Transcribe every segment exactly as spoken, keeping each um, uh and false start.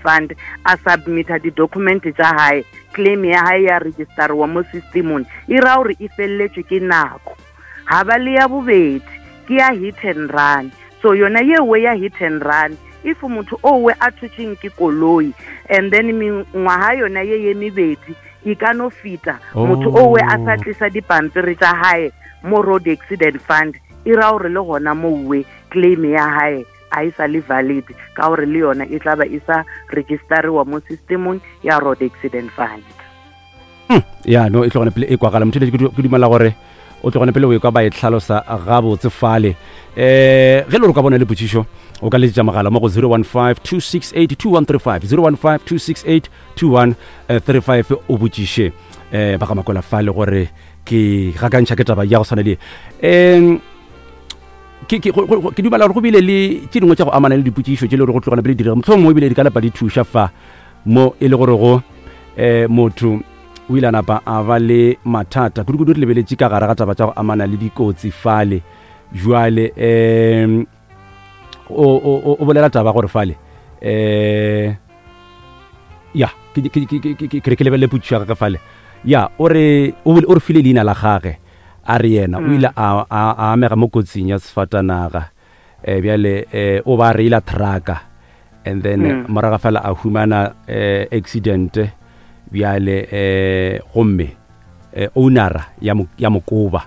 Fund, a submita di-document tša gae, claim ya gae ya registeriwa mo systemong, e ra gore e feleletšwe ke nako. Ga ba le ya bobedi ke ya hit and run. So yona yewe ya hit and run, if motho owe a thutšeng ke koloi and then mengwaga yona ye ye mebedi e ka no feta, motho owe a sa tlisa dipampiri tša gae mo Road Accident Fund, e ra gore le gona mowe claim ya gae a e sa le valid, ka gore le yona e tla ba e sa registeriwa mo systemong ya Road Accident Fund. Ya no, e tlogone pele e kwagala motho, ke dumela gore o tlogone pele o e kwa ba e tlhalosa gabotse fale. um ge le gore ka bona le potšišo, o ka letsetša mogala mo go zero one five two six eight two one three five, zero one five two six eight two one three five, o botšiše um ba ga Makwela fale gore ke gakantšha ke taba ya go tshwana le um ke ke ke dumela gore go bile le tše dingwe tša go amana le dipotšišo tše le gore go tlogana pele direga, mohlomongwe ebile di ka lapa di thuša fa mo e le gore go um motho o ile a napa a ba le mathata kudu-kudu. Re lebeletše ka gare ga taba tša go amana le dikotsi fale. Jwale um o o bolela taba gore fale um ya ke re ke lebelele potšišo ya gage fale. Ya o re o re file leina la gage, a re yena o ile a a amega mo kotsing ya sefatanaga, um bjale um o ba reila trucka and then morago fela a humana um accident. Bjale um gomme um ownera ya mokoba,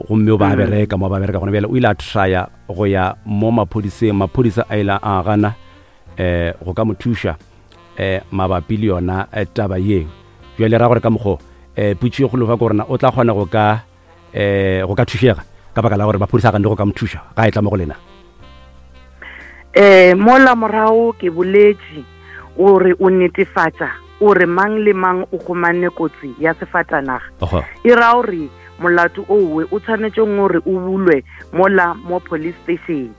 gomme o ba bereka mo ba bereka gona. Bjale o ile a trya go ya mo maphodiseng, maphodisa a ile a gana um go ka mo thuša um mabapi le yona taba ye. Bjale ra gore ka mokgo um putšo e kgolo fa ke gorena o tla kgona go ka um go ka thušega ka baka la gore maphodisa a ganne go ka mo thuša ga e tla mo go lena? Um mola morago ke boletše gore o netefatša o re mang le mang o gomane kotsi ya sefatanaga, e ra gore molato owe o tshwanetseng gore o bulwe mola mo police station,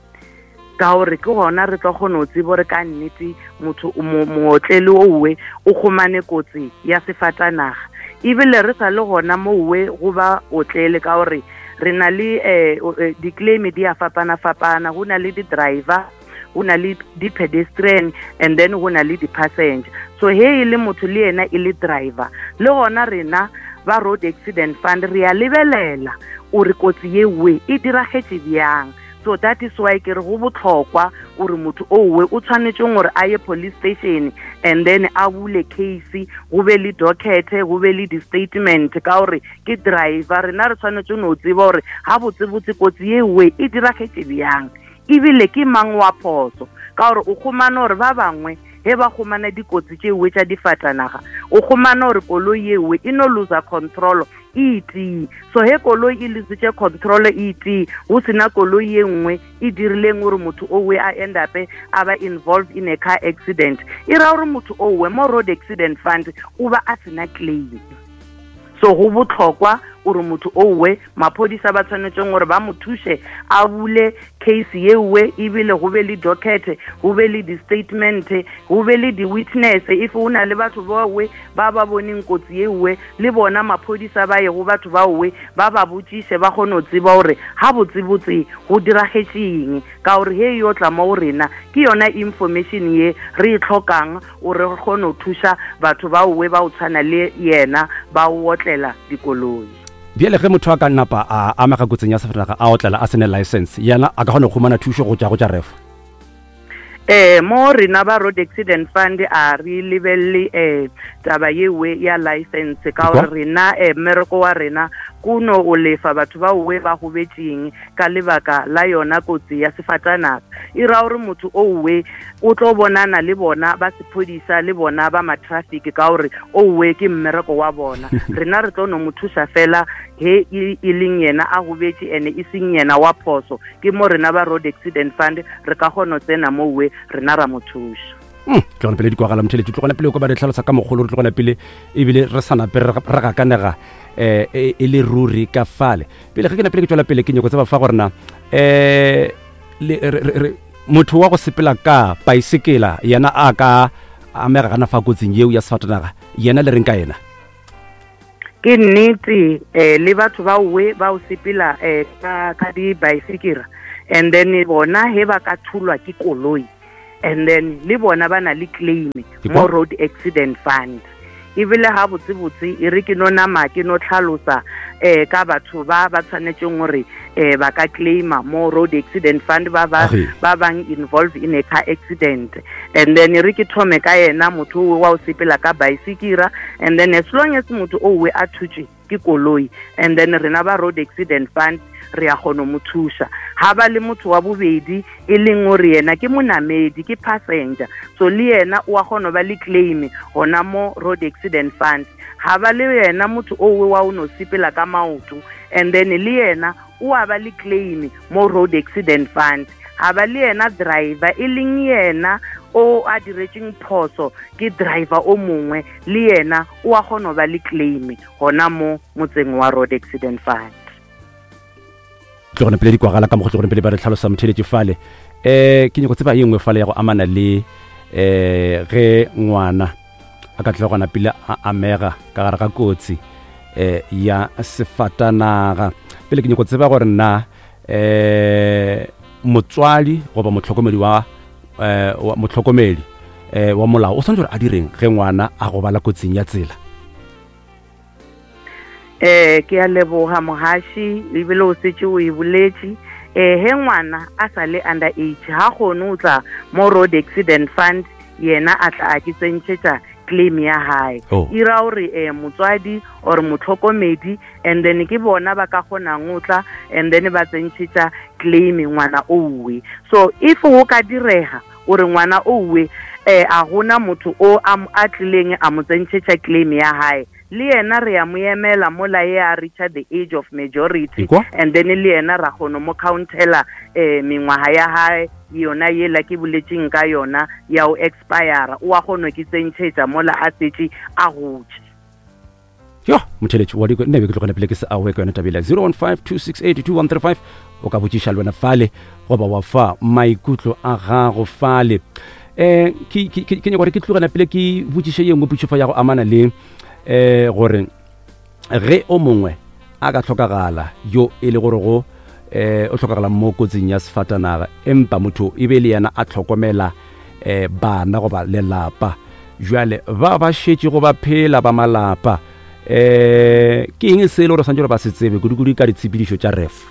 ka gore ke gona re tlo kgona go tseba gore ka nnete motho mootlele owe o gomane kotsi ya sefatanaga. Ebile re sa le gona mowe go ba otlele, ka gore re na le um di-claim di a fapana-fapana, go na le di-driver, go na le di-pedestrian, and then go na le di-passenger. So he e le motho le yena e le driver, le gona rena ba Road Accident Fund re a lebelela ore kotsi yewe e diragetše bjang. So that is why ke re go botlhokwa ore motho owe o tshwanetseng gore a ye police station and then a bule case, go be le docket, go be le di-statement, ka gore ke driver. Rena re tshwanetse no tseba gore ga botsebotse kotsi yewe e diragetše bjang, ebile ke mang wa phoso, ka gore o kgomane gore ba bangwe he ba kgomana dikotsi tšewe tša difatanaga, o kgomana gore koloi yewe e no loser control e tee. So he koloi e lositše control e tee, go sena koloi ye nngwe e dirileng gore motho owe a end up a ba involved in a car accident, e ra gore motho owe mo Road Accident Fund o ba a sena claim. So go botlhokwa gore motho owe maphodisa ba tshwanetseng gore ba mo thuše a bule case yewe, ebile go be le docket, go be le di-statement, go be le di-witness. If go na le batho bawe ba ba boneng kotsi yewe, le bona maphodisa ba ye go batho bawe ba ba botšiše, ba kgone go tseba gore ga botsebotse go diragetšeng, ka gore he yo tla mo go rena ke yona information ye re e tlhokang gore re kgone go thuša batho baowe ba o tshwana le yena ba o otlela dikoloi. Bjale ge motho a ka napa a amega kotsing ya sefatanaga a otlela a sene license, yena a ka kgona go humana thušo go tša go tša refo? Eh mo rena ba Road Accident Fund a re lebelele eh taba yewe ya license, ka gore rena eh mmereko wa rena kuno o lefa batho ba owe ba gobetšeng ka lebaka la yona kotsi ya sefatanaga. E ra gore motho owe o tlo bonana le bona ba sephodisa le bona ba ma-traffic, ka gore owe ke mmereko wa bona. Rena re tlo no mo thuša fela he e leng yena a gobetše ene e seng yena wa phoso, ke mo rena ba Road Accident Fund re ka kgona go tsena mowe rena ra mo thuša. Tlogana pele di kwagala motheletši, tlogana pele o ka ba re tlhalosa ka mogolo, re tlogana pele ebile re sa nape re gakanega um e le ruri ka fale. Pele ge ke napele ke tswela pele, ke nyako tseba fa gorena um motho wa go sepela ka paesekela yena a ka amega gana fa kotsing yeo ya sefatanaga, yena le reng ka yena? Ke nnete um le batho ba owe ba o sepela um ka di-bicycle, and then bona he ba ka thulwa ke koloi And then le bona ba na le claim mo Road Accident Fund. Ebile ga botsebotse e re ke no nama ke no tlhalosa eh ka batho ba ba tshwanetseng gore eh ba ka claima mo Road Accident Fund ba ba ba bang involved in a car accident. And then e re ke thome ka yena motho wa o sepela ka bicycle, and then as long as motho o we a thutse ke koloi, and then rena ba Road Accident Fund re a kgona mo thuša. Ha ba le motho wa bobedi e leng gore yena ke monamedi, ke passenger, so le yena o a kgona ba le claim gona mo Road Accident Fund. Ha ba le yena motho o wa o no sepela ka maoto, and then le yena o a ba le claim mo Road Accident Fund. Ha ba le yena driver e leng yena o a diretseng phoso ke driver o mongwe, le yena o a kgona ba le claim gona mo motseng wa Road Accident Fund. Tlogone pele di kwagala ka mo go tlogone pele ba re tlhalosa motheletše fale. Eh ke nyako tseba ye nngwe fale ya go amana le eh ge ngwana a ka tlogona pele a amega ka gare ga kotsi eh ya sefatanaga. Pele ke nyako tseba gore nna eh motswadi goba motlhokomedi wa eh motlhokomedi eh wa molao o tshwanetse gore a direng ge ngwana a gobala kotsing ya tsela? Eh ke a leboga mohashi, ebile o setse o e boletše. Eh he ngwana a sa le under age ha kgone o tla mo Road Accident Fund, yena a tla a ke tsentšhetša claim ya hae. E ra gore eh motswadi or motlhokomedi, and then ke bona ba ka kgonang o tla and then ba tsentšhetša claim ngwana owe. So if go ka direga gore ngwana owe eh a gona motho o a tlileng a mo tsentšhetša claim ya hae, le yena re ya mo emela mola ye a reacha the age of majority, and then le yena ra kgona mo countela eh mengwaga ya hae yona yela ke boletseng ka yona ya o expire, o a kgona ke tsentšhetša mola a setse a gotse. Yo motheletši wa diko nne be ke tlogele pele ke se awe ka yona tabela zero one five two six eight two one three five. O ka botšiša le wena fale goba wa fa maikutlo a gago fale. Eh ke ke ke nyaka gore ke tlogela pele ke botšiše ye nngwe potšo fa ya go amana le eh gore ge o mongwe a ka tlhokagala yo e le gore go eh o tlhokagala mo kotsing ya sefatanaga, empa motho e be le yena a tlhokomela eh bana goba lelapa, jwale ba ba šetše go ba phela ba malapa eh ke eng se e le gore santse gore ba se tsebe kudu-kudu ka ditshepedišo tša ref?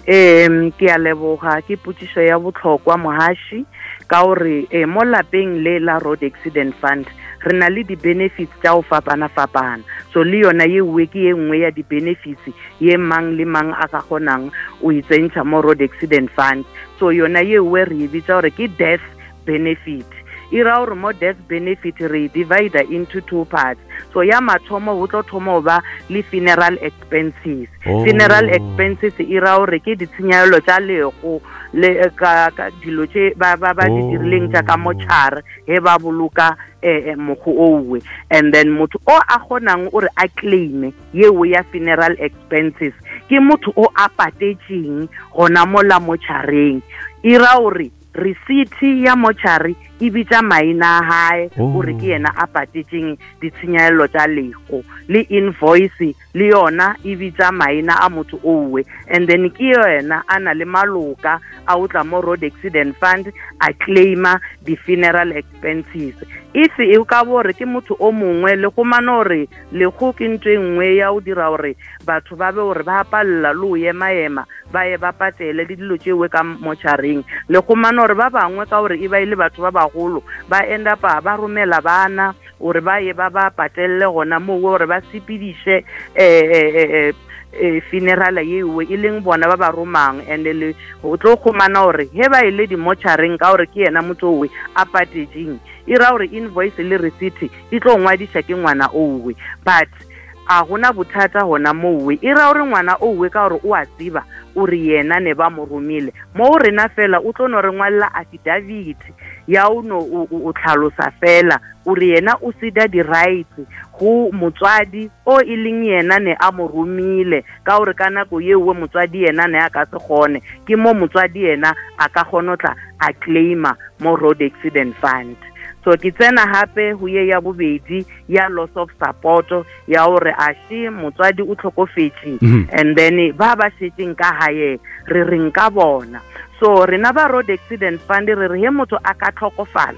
Em ke a leboga, ke potšišo ya botlhokwa mohashi, ka gore eh mo lapeng le la Road Accident Fund re na le di-benefits tša go fapana-fapana. So le yona ye nngwe ke ye nngwe ya di-benefits ye mang le mang a ka kgonang o itsentšha mo Road Accident Fund. So yona ye nngwe re e bitsa gore ke death benefit. E ra gore mo death benefit re e divide into two parts. So ya mathomo go tlo thoma go ba le funeral expenses. Oh. Funeral expenses e ra gore ke ditshenyegelo tša lego le ka dilo tše ba ba ba di dirileng tša ka motšhare he ba boloka eh mokgo owe. And then motho o a kgonang o re a claim yeo ya funeral expenses ke motho o a patetseng gona mola motšhareng. E ra gore receipt ya motšhare e bitša maina a hae gore ke yena a patetseng ditshenyegelo tša lego, le invoice le yona e bitša maina a motho owe. And then ke yena a na le maloka a o tla mo Road Accident Fund a claima di-funeral expenses. If e ka bore ke motho o mongwe le go mane gore lego ke ntho e nngwe ya o dira gore batho ba be gore ba palela le o ema-ema ba ye ba patele le dilo tšewe ka motšhareng, le go mane gore ba bangwe ka gore e ba ile batho ba bagolo ba end up ba romela bana gore ba ye ba ba patelle gona moo gore ba sepediše eh eh funeral yeo e leng bona ba ba romang. And le o tlo khumana gore he ba ile di-motšhareng ka gore ke yena motho owe a patetseng, e ra gore invoice le receipt e tlo ngwadiša ke ngwana owe, but a gona bothata gona mowe. E ra gore ngwana owe ka gore o a tseba o re yena ne ba mo romile mo rena fela, o tlo no re ngwalela affidavit ya o no o tlhalosa fela o re yena o sida di-rights go motswadi o e leng yena ne a mo romile, ka gore ka nako yeo motswadi yena ne a ka se kgone, ke mo motswadi yena a ka kgona tla a claima mo Road Accident Fund. So ke tsena hape ho ye ya bobedi ya loss of support ya hore a she motswadi o tlhokofetse, and then ba ba shetseng ka hae re reng ka bona. So rena ba Road Accident Fund re re he motho a ka tlhokofala,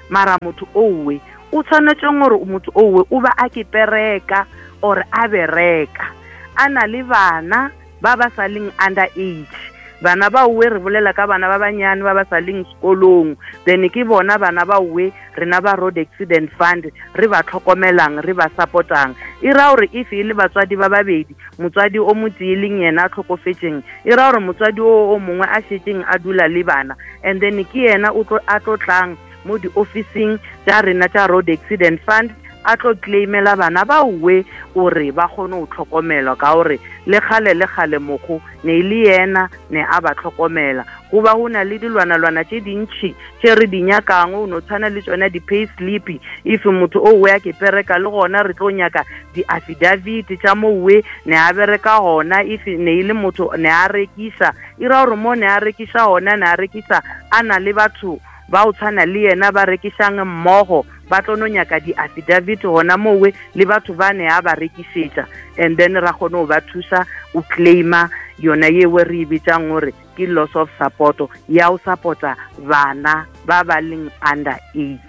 mara motho owe o tshwanetse gore motho owe o ba a ke pereka or a bereka a na le bana ba ba sa leng under age. Bana ba owe re bolela ka bana ba banyane ba ba sa leng sekolong, then ke bona bana ba owe rena ba Road Accident Fund re ba tlhokomelang, re ba supportang. E ra gore if e le batswadi ba babedi, motswadi o motee leng yena a tlhokofetšeng, e ra gore motswadi o o mongwe a šetšeng a dula le bana, and then ke yena o tlo a tlo tlang mo di-officing tša rena tša Road Accident Fund a tlo claimela bana ba owe gore ba kgone go tlhokomelwa, ka gore le kgale le kgale mokgo ne e le yena ne a ba tlhokomela. Go ba go na le dilwanalwana tše dintšhi tše re di nyakang, o no tshwana le tšona di-pay slip. If motho owe a ke pereka, le gona re tlo nyaka di-affidavit tša mowe ne a bereka gona. If ne e le motho ne a rekiša, e ra gore mo ne a rekiša gona, ne a rekiša a na le batho ba o tshwana le yena ba rekišang mmogo, ba tlo no nyaka di-affidavit gona mowe le batho ba ne a ba rekišetša, and then ra kgone go ba thusa o claima yona yewe re e bitsang gore ke loss of support ya o support-a bana ba ba leng under age.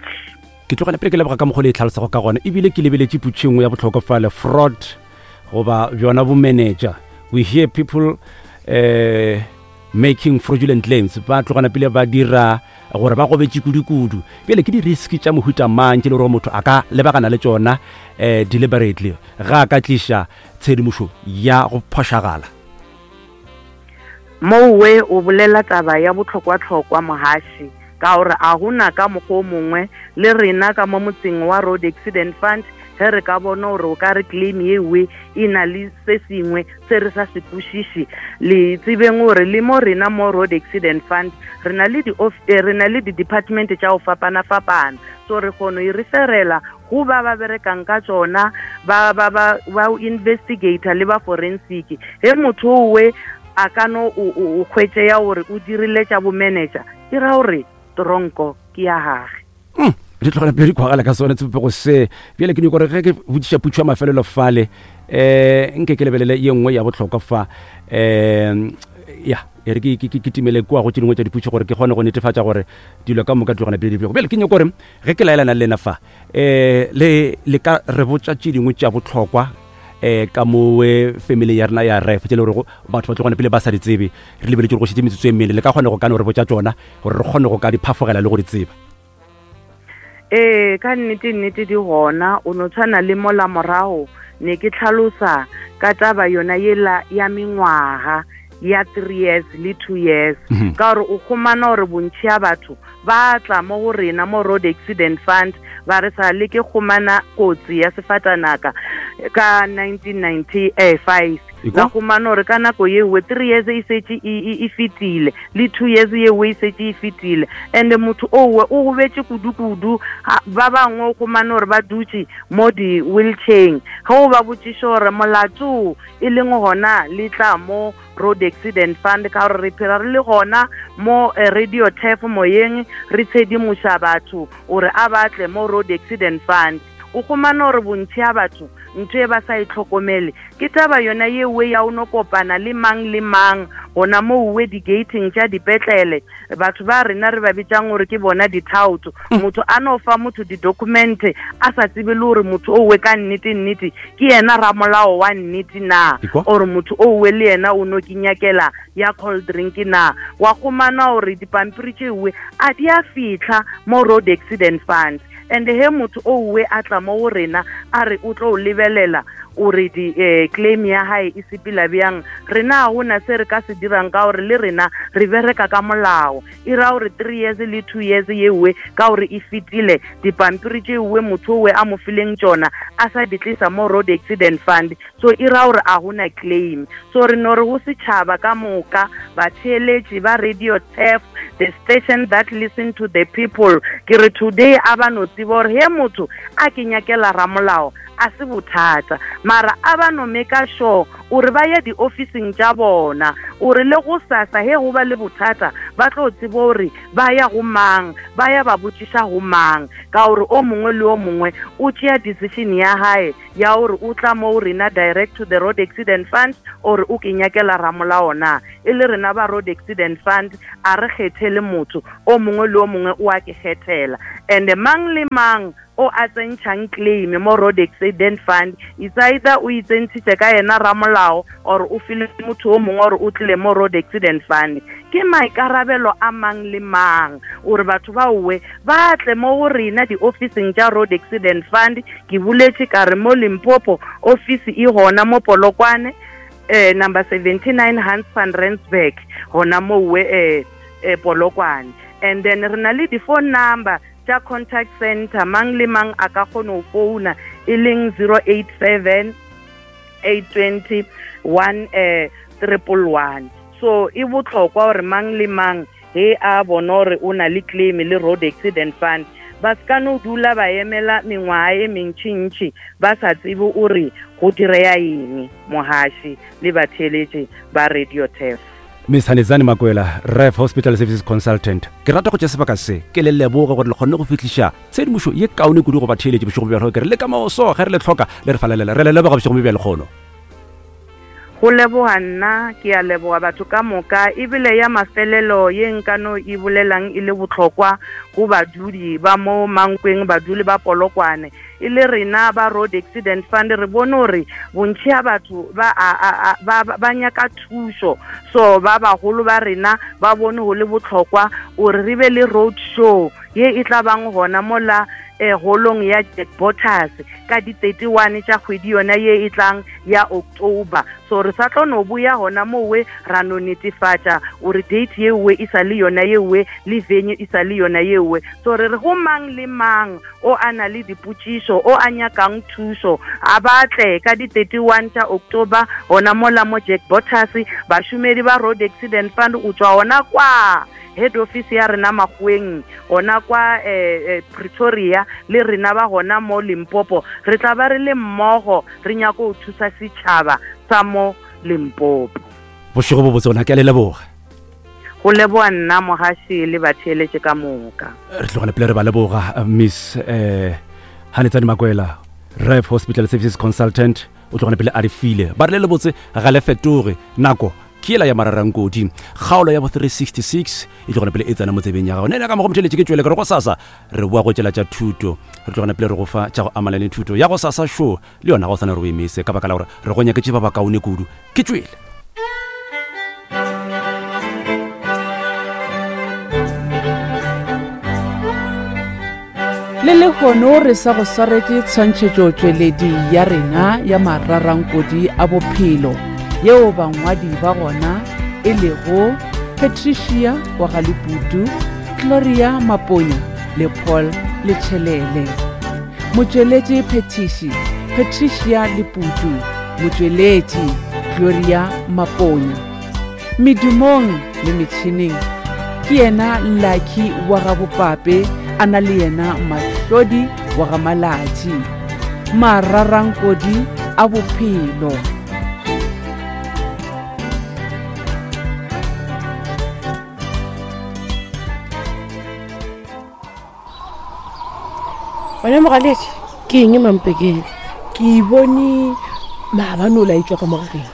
Ke tlogela pele ke leboga ka mokgwa le e tlhalosago ka gona, ebile ke lebeletše putšo engwe ya bohlokwa fale, fraud goba bjona bo manager. We hear people uh, making fraudulent claims, ba tlogana pele ba dira gore ba gobetše kudu-kudu. Bjale ke di-risk tša mohuta mang tše le gore motho a ka lebagana le tšona um deliberately ga a ka tliša tshedimošo ya go phošagala? Mowe o bolela taba ya bohlokwa-hlokwa mohaši, ka gore a gona ka mokgwa o mongwe le rena ka mo motseng wa Road Accident Fund ge re ka bona gore o ka re claim yewe e na le se sengwe se re sa se kwešiše, le tsebeng gore le mo rena mo Road Accident Fund re na le re na le di-department tša go fapana-fapana, so re kgone e referela go ba ba berekang ka tšona, ba ba ba ba investigator le ba forensic. Ge motho owe a ka no o hwetše ya gore o dirile tša bo manager, e ra gore tronko ke ya gage. Di tlogela pele di kwagala ka sone tsepego se. Bjale ke nyako gore ge ke botšiša putšo ya mafelelo fale, um nke ke lebelele ye nngwe ya bohlokwa fa, um ya e re ke timele kua go tše dingwe tša diputšo gore ke kgone go netefatša gore dilo ka moka di tlogana pele di bjego. Bjale ke nyako gore ge ke laelana le lena fa, um le le ka re botša tše dingwe tša bohlokwa um ka mowe family ya rena ya ref tše le gorego batho ba tlogana pele ba sa di tsebe, re lebeletše gore go šetše metsotso e mmele, le ka kgone go ka no re botša tšona gore re kgone go ka di phafogela le go di tseba? Ee, ka nnete nnete di gona. O no tshwana le mola morago ne ke tlhalosa ka taba yona yela ya mengwaga ya three years le two years, ka gore o kgomana gore bontši ya batho ba tla mo go rena mo Road Accident Fund ba re sa le ke kgomana kotsi ya sefatanaka ka nineteen ninety-five, la kgomana gore ka nako yewe three years e šetše e fetile le two years yewe e šetše e fetile, and motho owe o gobetše kudu-kudu. Ba bangwe o kgomane gore ba dutše mo di-wheelchair, ge o ba botšiša gore molato e leng gona le tla mo Road Accident Fund, ka gore re phela re le gona mo radio tef moyeng re tshedimoša batho gore a batle mo Road Accident Fund. O kgomana gore bontši ya batho ntho e ba sa e tlhokomele ke taba yona yewe ya o no kopana le mang le mang gona mo uwe di-gating tša dipetlele, batho ba rena re ba bitsang gore ke bona dithaoto. Motho a no fa motho di-document a sa tsebe le gore motho owe ka nnete nnete ke yena ramolao wa nnete na, or motho owe le yena o no ke nyakela ya cold drink na. Wa kgomana gore dipampiri tšewe a di a fitlha mo Road Accident Fund, and he motho owe a tla mo go rena a re o tlo lebelela ore di eh, claim ya hae e sepela bjang, rena ga gona se re ka se dirang ka gore le rena re bereka ka molao. E ra gore three years le two years yewe ka gore e fetile dipampiri tšewe motho owe a mo fileng tšona a sa di tlisa mo Road Accident Fund, so e ra gore a gona claim. So re no re go setšhaba ka moka, batheeletši ba Radio Tef, the station that listen to the people, ke re today a ba no tseba gore he motho a ke nyakela ramolao a se bothata mara a ba no make sure ore ba ye di-officing tša bona ore le go sasa he go ba le bothata ba tlo tseba gore ba ya go mang ba ya ba botšiša go mang ka gore o mongwe le o mongwe o tšea decision ya hae ya gore o tla mo rena direct to the Road Accident Fund or o ke nyakela ramolao na e le rena ba Road Accident Fund a re kgethele motho o mongwe le o mongwe o a ke kgethela and mang le mang o a tsentšhang claim mo Road Accident Fund it's either o itsentšhitše ka yena ramolao or o file motho o mongwe or o tlile mo Road Accident Fund ke maikarabelo a mang le mang ore batho ba owe ba tle mo go rena di-officing tša Road Accident Fund ke boletše ka re mo Limpopo office e gona mo Polokwane eh number seventy-nine Hans van Rensburg gona mowe eh, eh Polokwane and then re na le di-phone number tša contact center mang le mang a ka kgona go founa e leng zero eight seven eight twenty one eh triple one so e botlhokwa gore mang le mang he a bona gore o na le claim le Road Accident Fund ba se ka no dula ba emela mengwaga e mentšintši ba sa tsebe ore go direya eng mohaši le batheeletši ba Radio Turf. Miss Hanedzani Makwela, Ref Hospital Services Consultant. Ke rata go tšea sebaka se ke le leboge gore le kgonne go fihliša tshedimošo ye kaone kudu go batheeletši bošego bja ke re le ka moso ge re le tlhoka le re falelela re le leboga bošego bja lekgono. Go leboga nna ke a leboga batho ka moka ebile ya mafelelo ye nkano e bolelang e le botlhokwa go badudi ba mo Mankweng baduli ba Polokwane e le rena ba Road Accident Fund re bone gore bontši ya batho ba ba ba nyaka thušo so ba bagolo ba rena ba bone go le botlhokwa ore re be le road show ye e tla bang gona mola eh holong ya Jack Bottas ka di thirty-one tša kgwedi yona ye e tlang ya October so re sa tlo no buya gona mowe ra no netefatša ore date yewe e sa le yona yewe le venue e sa le yona yewe so re re go mang le mang o a na le dipotšišo o a nyakang thušo a batle ka di thirty-one tša October gona mola mo Jack Bottas bašomedi ba Road Accident Fund o tšwa gona kwa head office ya rena Makgoweng gona kwa eh, eh, Pretoria le rena ba gona mo Limpopo re tla ba re le mmogo re nyaka go thusa setšhaba sa mo Limpopo. Bošego bo botse gona ke a le leboga. Go leboga nna mohaši le batheeletše ka moka. Re tlogela pele re ba leboga Miss eh Hanedzani Makwela, Ref Hospital Services Consultant o tlogela pele a re file ba re le lebotse ga le fetoge nako ke ela ya mararankodi kgaolo ya bo three sixty-six e tlogela pele e tsena mo tsebeng ya gago nene ka mo go motheletše ke tšwele ke re go sasa re boa go tšela tša thuto re tlogela pele re go fa tša go amana le thuto ya go sasa show le yona ga o sane re o emise ka baka la gore re go nyaketše ba bakaone kudu ke tšwele. Le lehono re sa go swaretše tshwantšhetšo tšweledi ya rena ya mararankodi a bophelo yeo bangwadi ba gona e lego Patricia wa Galeputu, Gloria Maponya le Paul Lechelele. Motšweletši Phetiši Patricia Leputu, motšweletši Gloria Maponya. Medumong le metšhineng ke yena Lucky wa Gabopape a na le yena Mahlodi wa ga Malatši. Mararankodi a bophelo. Wena mogaledi ke eng mampekeng ke bone maabane o laetswa ka mogageng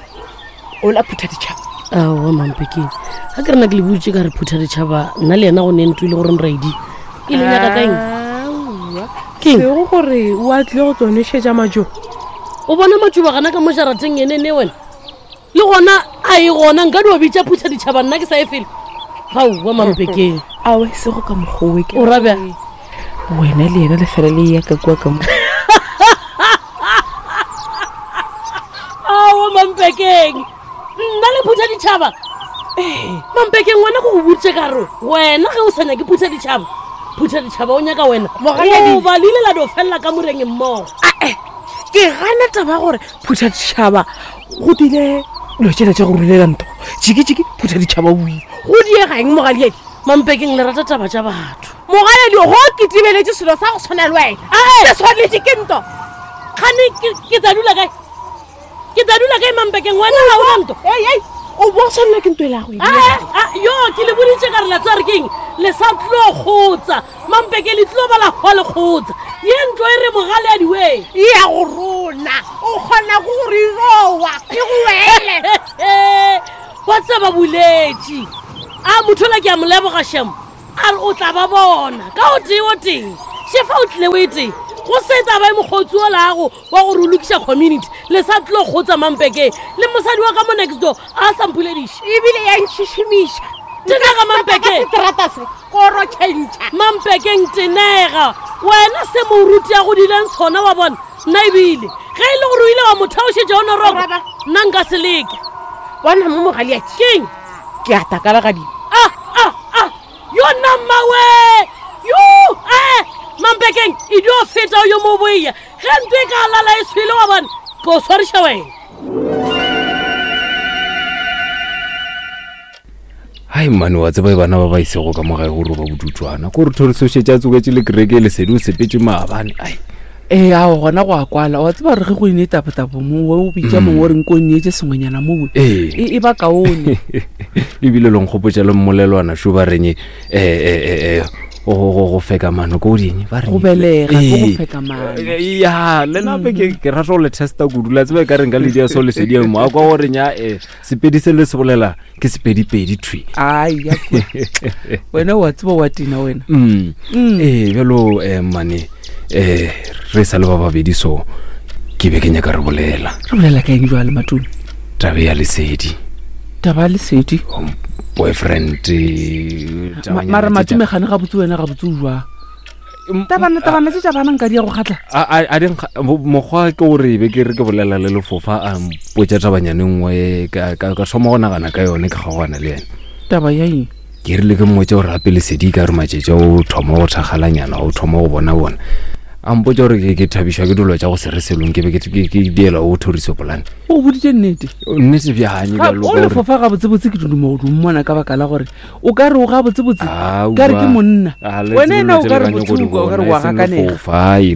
o la phutha ditšhaba. Aowa mampekeng ga ke rena ke le butše ka re phutha ditšhaba nna le yena go ne ntho e le gore nraedi e le nyaka ka eng ke sego gore o a tlile go tlo nwešetša majo o bona matšoba gana ka mo jarateng ene ne wena le gona a e gona nka dio bitša phutha ditšhaba nna ke sa e fele gaowa mampekeng awe sego ka mokgowe o rabja wena le yena le fela le ya ka kua ka mo aowa mampekeng nna le phutha ditšhaba mampekeng wena go go botše ka re wena ge o sa nyake phutha ditšhaba phutha ditšhaba o nyaka wena o ba le ile la dio felela ka moreng mmogo ae ke gana taba gore phutha ditšhaba go dile dilo tšela tša go rulela ntho jikijiki phutha ditšhaba o ile go diega eng mogaliedi mampekeng le rata taba tša batho mogaledi go ke tibeletše selo sa go tshwana le wena se tshwanetše ke nto Gane ke tla dula kae? Ke tla dula kae Mampekeng wena ga o na ntho? Ei ei o bo tshwanela ke ntho e la go a yo ke le boditše ka re la tswa re keng le sa tlo kgotsa Mampeke le tlo ba la hwa le kgotsa ye ntlo e re mogale a diwe e ya go rona o kgona go re rowa e go wele ba tseba boletše a motho la ke a mo leboga shemo a re o tla ba bona ka o tee o tee shefa o tlile o e tee go se taba e mokgotsi o lago wa gore o lokiša community le sa tlo kgotsa Mampekeng le mosadi wa ka mo next door a sa mpolediše ebile ya ntšhišimiša tenega Mampekeng seterata se koro tšhentšha Mampekeng tenega wena se moruti a godileng sona wa bona nna ebile ge e le gore o ile wa mo theošetša o noroko nna nka se leke bona mo mogaleatši keng ke a takala gadimo ah ah ah yo nna mmawe yo eh Mampekeng e dio feta yo mo boia ge ntho e ka lala e swele wa bona ke o swariša wena hai mane wa tseba bana ba ba isego ka mo gae gore ba bodutswana ko re thoriso šetše a tsoketše le kereke lesedi o sepetše maabane ai ee ao gona go a kwala wa tseba gore ge go ine tapotabo mo o bitša mongwe o reng ko nneetse sengwenyana mowe e e ba kaone ebile le nkgopotša le mmolelwana šo ba reng um go go feka mano ko ding ba re go belega go feka mano ya le nape ke ke rata go le testa kudu la tseba ka reng ka le dia so lesedi mo a kwa gore nya eh sepedi se le se bolela ke sepedipedi thwi ai ya wena wa tseba wa tina wena mm eh bjalo eh mane eh re sa le ba babedi so ke be ke nyaka re bolela re bolela ka eng jwale Matome taba ya lesedi taba ya lesedi boyfriend mara Matome gane ga botse wena ga botse o jwang tabana tabana tse tša bana nka di ya go kgatla a di mokgwa ke gore be ke re ke bolela le lefofa a mpotša tabanyane nngwe ka thoma go nagana ka yone ke kgaogana le yena taba ya eng ke rile ke mmotse gore gape lesedi ka re matšetša o thoma go thakgalanyana o thoma go bona bona a mpotša gore ke thabišwa ke dilo tša go se re selong ke be ke diela o thoriso polane o boditše nnete nnete bjanye o lefofa gabotsebotse ke duduma go mmona ka baka la gore o ka re o gabotsebotse ka re ke monna wena ena o ka re bothuka o ka re wa gakanega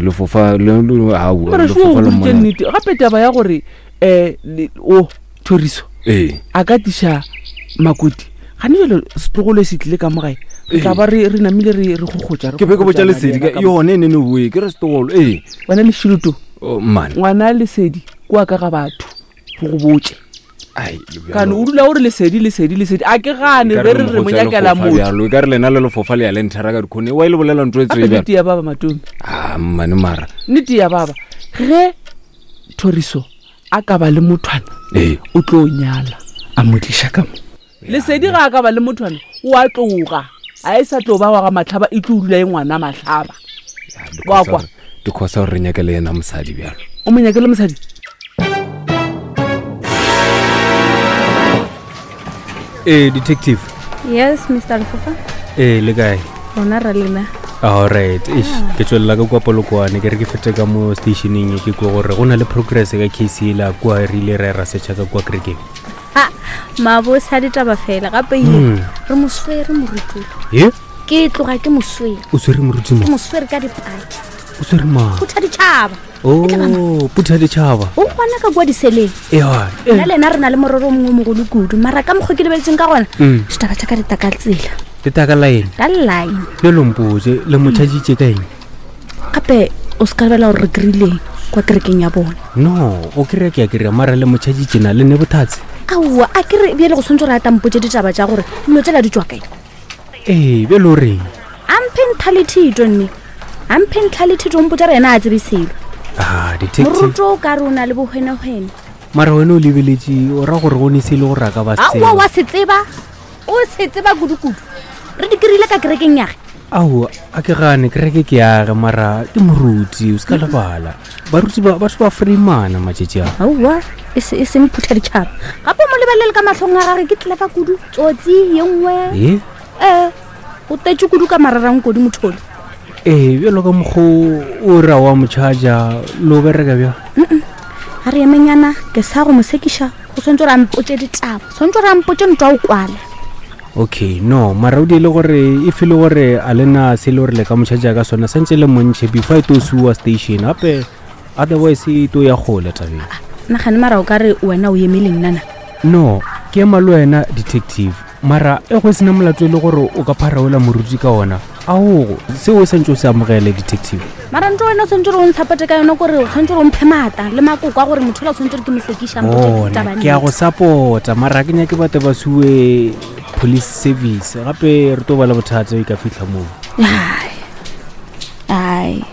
lefofa mara šo o boditše nnete gape taba ya gore um o thoriso a ka tiša makoti gane jalo setlogolo se tlile ka mo gae re tla ba re namile re gogotša ke be ke botša lesedi ka yone e nene boe ke re setlogolo ee wena lešiloto mane ngwana lesedi kua ka ga batho go go botše kane o dula o re lesedi lesedi lesedi a ke gane be re re mo nyakela motho e ka re lena le lefofa le ya le nthera ka dikhone wa e le bolela ntho e tsebe nnete ya baba Matome a mmane mara nnete ya baba ge thoriso a ka ba le mothwana o tlo nyala a mo tliša ka mo lesedi ga a ka ba le mothwana o a tloga a e sa tlo ba wa ga matlhaba e tlo dula e ngwana matlhaba wa kwa dikgosa gore re nyake le yena mosadi bjalo o mo nyake le mosadi ee detective yes Mister Lefofa ee le kae rona ra lena alright eish ke tswelela ka kua Polokwane ke re ke fete ka mo stationeng ke kua gore go na le progress ka case ela kua re ile ra ra setšha ka kua kerekeng mabose a ditaba fela gape ye re mo swere moruti ye ke tloga ke mo swere o swere moruti mo ke mo swere ka dipaki o swere mang phutha ditšhaba oh phutha ditšhaba o gona ka kua diseleng ewa nna le ena re na le morero o mongwe o mogolo kudu mara ka mokgwa ke lebeletseng ka gona ditaba tša ka di taka tsela di taka line ka line le lompotse le mo tšhaditše ka eng gape o se ka lebela gore re kry-ileng kwa kerekeng ya bona no o kry-a ke a kry-a mara le mo tšhaditše na le ne bothatse aowa a kere bjale go tshwanetse gore a tampotse ditaba tša gore dilo tsela di tswa kae ee bjale o reng a mphe ntlha le thito nne a mphe ntlha le thito mpotsa re yena a tsebe selo ah detective moruto o ka re o na le bohwenehwene mara wena o lebeletše o ra gore go ne se e le gore a ka ba aowa wa se tseba o se tseba kudukudu re di kry-ile ka kerekeng yage ao a ke gane kereke ke yage mara ke moruti o se ka lebala baruti ba batho ba freemana matšatši a aowa e seng phutha ditšhaba gape o mo lebelele ka mahlong a gage ke tlefa kudu tsotsi ye nngwe e ee o tetse kudu ka mararankodi mothole ee bjalo ka mokgo o ra wa motšhaja le o bereka bjang ga re emenyana ke sa go mo sekiša go tshwanetse gore a mpotse ditaba tshwanetse gore a mpotse ntwa o kwala okay no mara o diele gore e fele gore a lena se le gore le ka motšhaja ka sona santse le montšhe before e to suwa station gape Otherwise e to ya kgole tabeng. Nagane mara o ka re wena o eme le nnana. No, ke ema le wena detective. Mara e go sena molato e le gore o ka pharaola moruti ka ona. Aogo, seo o santse o se amogele detective. Mara ntho wena o tshwanetse gore o ntshapote ka yona kore o tshwanetse gore o mphe maata le makoko a gore motho ola o tshwanetse gore ke mo sekiša Bona, ke a go support-a mara ke nyake batho ba sue police service gape re tlo ba le bothata e ka fitlha moo. Ai. Ai.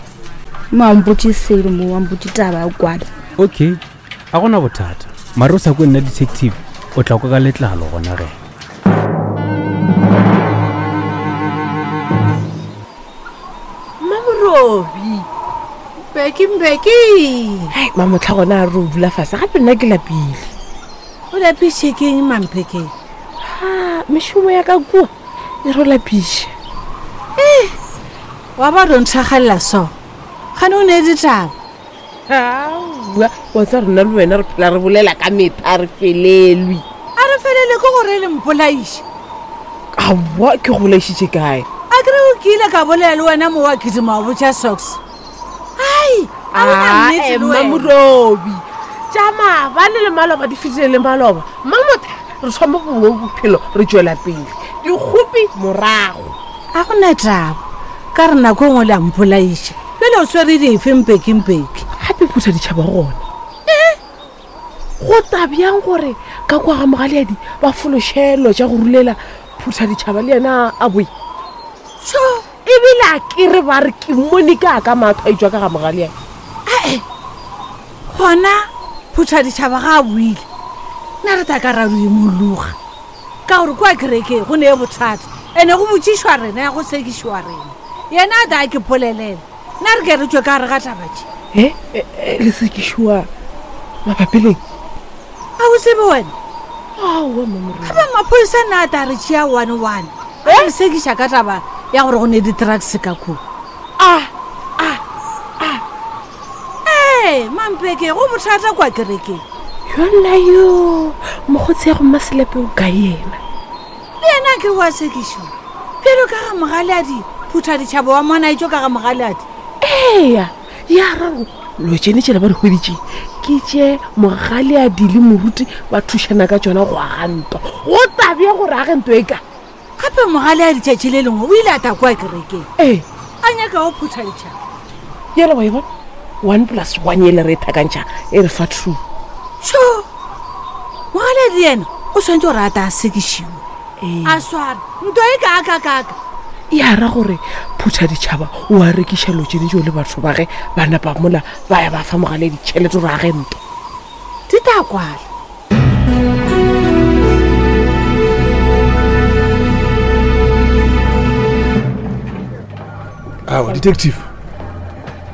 Mo a mpotse selo mo a mpotse taba ya kwala. Okay, a gona bothata. Mara o sa kwe nna detective, o tla kwa ka letlalo gona ge. Mmamorobi. Mbeki Mbeki. Hai, mamotlha gona a re o dula fase gape nna ke lapile. O lapiše ke eng Mamphekeng? Ha, mešomo ya ka kua e re lapiše. Eh, wa ba ro nthagalela so. Gane o ne ditaba. Aowa, wa tsa rena le wena re phela re bolela ka metha re felelwe. A re felele ke gore le mpolaiše. Aowa, ke go bolaišitše kae? A kere o kile ka bolela le wena mo wa kidima wa botša socks. Ai, a o na nnete le wena. Mmamorobi. Tša maabane le maloba di fetile le maloba. Mmamotha, re thoma bongwe bophelo re tšwela pele. Dikgopi morago. A go na taba. Ka re nako e nngwe le a mpolaiša. Pele o swere dife Mpeki Mpeki? Gape phutha ditšhaba gona. Eh? Go tabjang gore ka kwa ga Mogaleadi ba fološelo tša go rulela phutha ditšhaba le yena a boe? Tšho, ebile a ke re ba re ke mmone ka ka matho a etswa ka ga Mogaleadi. Ae, gona phutha ditšhaba ga a boile. Nna re tla ka ra imologa. Ka gore kwa kerekeng go ne bothata. Ene go botšišwa rena ya go sekišwa rena. Yena a tla ke polelela. Nna re ke re tšwe ka gare ga taba tše. Eh, eh, le sekišwa mabapi leng? A o tsebe wena? Aowa, Mmamorobi. Gape maphodisa nna a tla re tšea one one. A re sekiša ka taba ya gore go ne di-drugs ka kua. Ah, ah, ah. Ee, Mampeke, go bothata kwa kerekeng. Yona yo, mokgotsi ya go Mmaselepe o ka yena. Le yena ke wa sekišwa. Bjalo ka ga Mogaleadi, phutha ditšhaba wa mona etšo ka ga Mogaleadi. Eya, ya raro lo tšene tšela ba di hweditše ke tše Mogaleadi le moruti ba thušana ka tšona go aga ntwa. Go tabja gore age ntwa e ka. Gape Mogaleadi tšatši le lengwe o ile a tla kwa kerekeng. Ee. A nyaka go phutha ditšhaba. Yela wa e bona? One plus one ele re e thakantšha e re fa two. Tšho, Mogaleadi yena o tshwanetse gore a tla a sekišiwe. A sware ntwa e kaakakaka. Ya ra gore phutha ditšhaba o a rekiša lo tšene tšeo le batho ba ge ba napa mola ba ya ba fa Mogaleadi tšhelete gore age ntwa. Di tla kwala. Aowa, detective.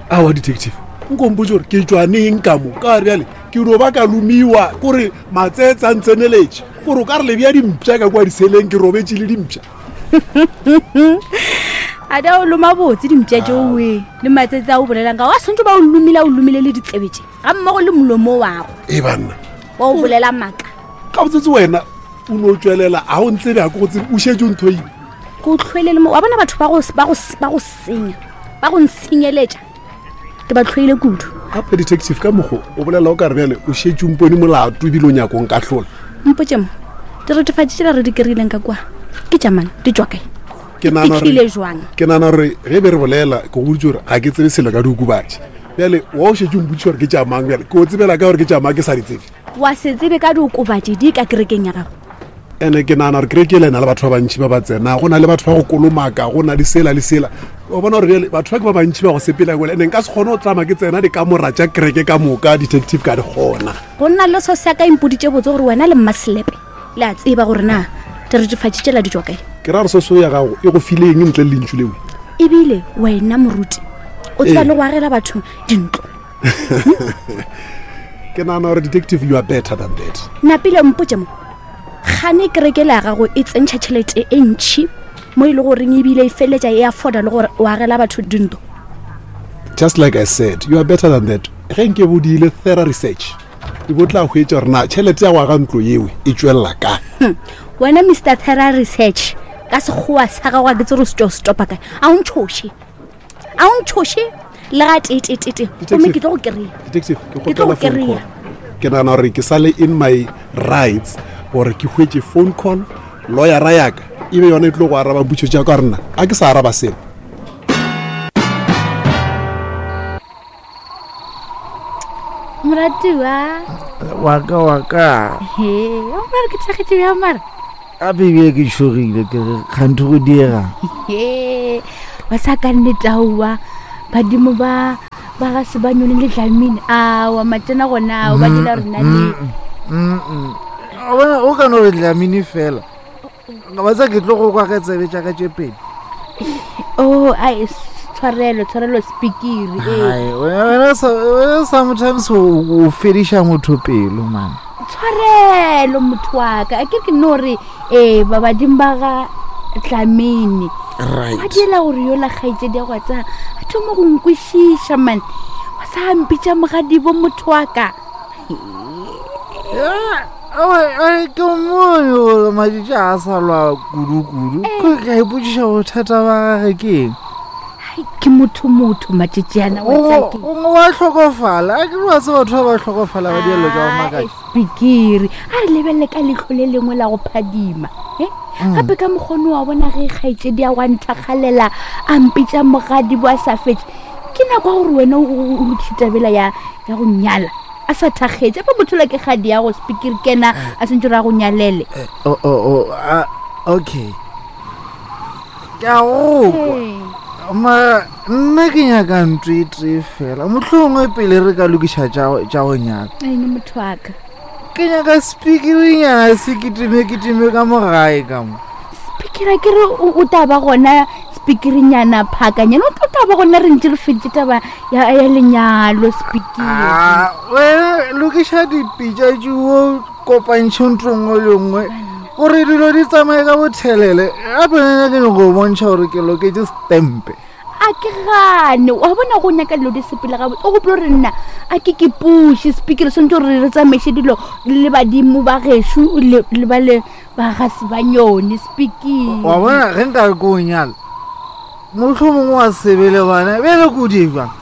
Aowa, detective. Nko mpotše gore ke tšwa neng ka mo? Ka bjale ke no ba ka lomiwa kore matsetse a ntseneletše. Gore o ka re le bea dimpša ka kwa diseleng ke robetše le dimpša. A da o loma botse dimpša tšeo we le matsetse a o bolelang ka wa santse ba o lomile o lomile le ditsebe tše ga mmogo le molomo wago. E banna. Wa o bolela maka. Ka botsetse wena o no tšwelela a o ntsebe a ke go tsebe o šetše o nthoile. Ke o tlhoile le mo wa bona batho ba go ba go ba go senya ba go ntshenyeletša ke ba tlhoile kudu. Gape detective ka mokgo o bolela o ka re bjale o šetše o mpone molato ebile o nyako nkahlola. Mpotše mo diretefatši tšela re di kry-ileng ka kwa ke tša mang di tšwa kae? Ke nahana Fihlile gore jwang? ke nahana gore ge be re bolela ke go boditše gore ga ke tsebe selo ka diokobatši. Bjale wa o šetše o mpotšiša gore ke tša mang bjale ke o tsebela ka gore ke tša mang ke sa di tsebe. Wa se tsebe ka diokobatši di ka kerekeng ya gago. Ene ke nahana gore kereke ele e na le batho ba bantši ba ba tsena, go na le batho ba go kolomaka, go na le sela le sela. O bona gore bjale batho ba ke ba bantši ba go sepela kwele, ene nka se kgone go tlama ke tsena dikamora tša kereke ka moka detective ka di kgona. Go nna le so sa ka impoditše botse gore wena le Mmaselepe le a tseba gore na diretefatši tšela di tšwa kae. Ke ra gore soso ya gago e go file eng ntle le lentšu leo? Ebile wena moruti o tseba Ee. le go agela batho dintlo. Ke nahana gore detective you are better than that. Napile mpotše mo gane kereke le ya gago e tsentšha tšhelete e ntšhi mo e le goreng ebile e feleletša e afforda le gore o agela batho dintlo. Just like I said, you are better than that. Ge nke bo diile thorough research, e bo tla hwetša gore na tšhelete ya go aga ntlo yeo e tšwelela kae. Hmm. Wena Mister Thorough Research ka sekgowa sa gago a ke tsere o se tšwa o se topa kae. A o ntšhoše. A o ntšhoše. Le ga teeteetee gomme ke tlo go kry-a. Detective, ke Ke tlo kgopela go phone kry-a. call. Ke nagana gore ke sale in my rights gore ke hwetše phone call, lawyera yaka e be yona e tlo go araba potšo tša ka rena a ke sa araba selo. Moratiwa. Waka waka. He, o mara ke thakgetše bjang mara? Gape ebile ke tšhogile ke re kganthe go diega. He, ba sa ka nnete aowa badimo ba ba ga se ba nyone le Dlamini aowa matsena gona ao ba dira rena le O bona o ka no re Dlamini fela. Ba tsa ke tlo go kwa ka tsebe tša ka tše pedi. Oh, ai tshwarelo tshwarelo speakere ee. Hai, wena wena sa- wena sometimes o o fediša motho pelo man. Tshwarelo motho wa ka a ke ke no re ee ba badimo ba ga Dlamini Right. ba dira gore yola kgaitsedi ya go tsa a thoma go nkwešiša man wa sa mpitša mogadibo motho wa ka. Aowa, ke mmone gore matšatši a sa lwa kudu-kudu. Ke ka ipotšiša bothata ba gage ke eng. Hai, ke motho motho matšatšiana wa tsa ke Gongwe wa hlokofala a ke re wa tseba batho ba ba hlokofala ba dielo tša go makatša. Spikiri a re lebelele ka leitlho le lengwe la go phadima e gape ka mokgone wa bona ge kgaitsedi ya wa nthakgalela a mpitša mogadibo a sa fetse ke nako ya gore wena o o lokiše tabela ya ya go nyala a sa thakgetse ape motho la ke kgadi ya go spikiri kena a sentse re a go nyalele. Oh, oh, oh, ah, okay ke a go kwa mara nna ke nyaka ntho e tee fela mohlomongwe pele re ka lokiša tša go- tša go nyaka. Ene motho wa ka Ke nyaka spikirinyana se kitime kitime ka mo gae ka mo. Spikiri a ke re o o tla ba gona spikirinyana phakanyana o tla ba gona re ntse re feditše taba ya ya lenyalo spikiri. Ah, wena lokiša dipitša tšeo kopantšhe ntho nngwe le nngwe gore dilo di tsamaye ka bothelele gape nna ke nyako go bontšha gore ke loketše stempe. A ke gane wa bona go nyaka dilo di sepele gabotse o gopole gore nna a ke ke puše spikiri swantse gore re tsamaiše dilo le badimo ba gešo le le ba le ba ga se ba nyone spikiri. Wa bona ge nka re ke o nyala mohlomongwe wa sebe le bana bjale ko di bjang.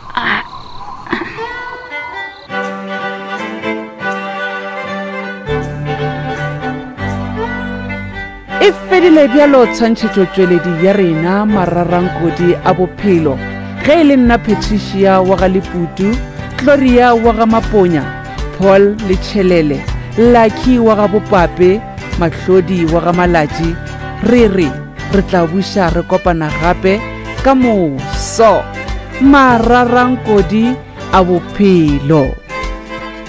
E fedile bjalo tshwantšhetšotšweledi ya rena mararankodi a bophelo. Ge e le nna Patricia wa ga Leputu, Gloria wa ga Maponya, Paul Letšhelele, Lucky wa ga Bopape, Mahlodi wa ga Malatši, re re re tla buša re kopana gape ka moso. Mararankodi a bophelo.